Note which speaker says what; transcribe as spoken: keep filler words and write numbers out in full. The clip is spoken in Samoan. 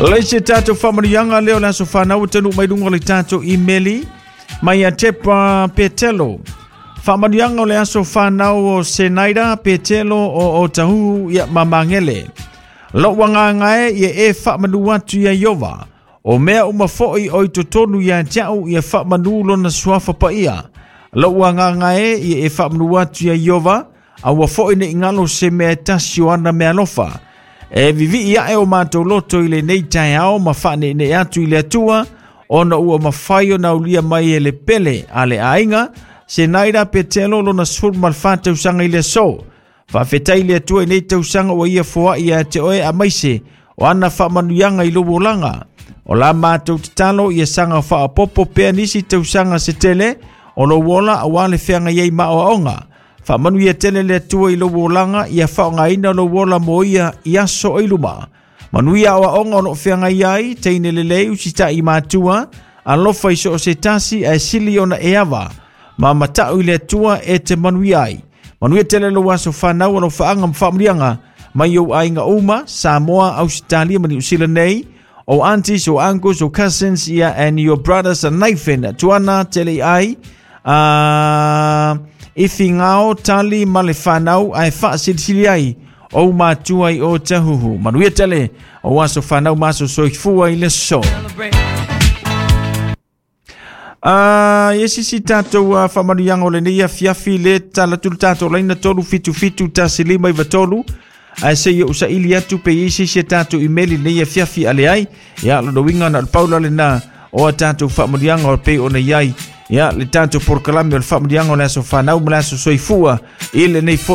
Speaker 1: Leise tātou whamanianga leo le aso whanau tanu mai lunga le tātou imeli mai a Tepa Petelo. Whamanianga o le aso whanau o Senaida Petelo o o Tahuhu ia mamangele. Lau wanga ia e whamanu atu ia Iova. O mea umafoi o i totonu ia tiau ia whamanu lona suafa pa ia. Lau wanga ia e whamanu atu ia Iova. Aua foi ne ingalo se mea tasi o ana mea lofa. E vivi ia e o mātou loto i le nei tai ao ma whaane ne atu i le atua ona ua mawhai o naulia mai e le pele a le ainga se naira petelo lona sefulu ma le fa tausaga i le aso. Faafetai le Atua i nei tausaga ua ia foai ia te oe amaise o ana faamanuiaga i lou olaga. O la mātou tatalo ia saga faapopo pea nisi tausaga se tele o lou ola auā le feagai ai ma aoaoga. Faamanuia tele le Atua i lou olaga ia faaaogaina lou ola mo ia i aso i luma. Manuia aoaoga o loo feagai ai, teine lelei usitaʻi matua, alofa i so o se tasi ae sili ona e ava. Ma matau i le Atua e te manuia ai. Manuia tele lou aso whanau alo whaanga mwhaamurianga mai au ainga uma, Samoa, Australia, ma New Zealand nei, o aunties, o uncles, o cousins, ia, and your brothers and Nathan, tuana tele ai, uh, ifi ngao, tali, ma le whanau, ai whaasilisili ai, o matua i o tahuhu. Manuia tele, o aso whanau maso soifua i le so. Uh, ye sisi tātou uh, whamanuianga o le nei afiafi le talatulu tātou laina tolu fitu fitu tasi lima iwa tolu. Ae se ia usa ili atu pe i sisi tātou imeli nei afiafi ale ai. Ia lo winga na paula le na o a tātou whamanuianga o pe o nei ai. Ia le tātou porkalame o le whamanuianga o le aso whanau ma le aso soifua i le nei foi.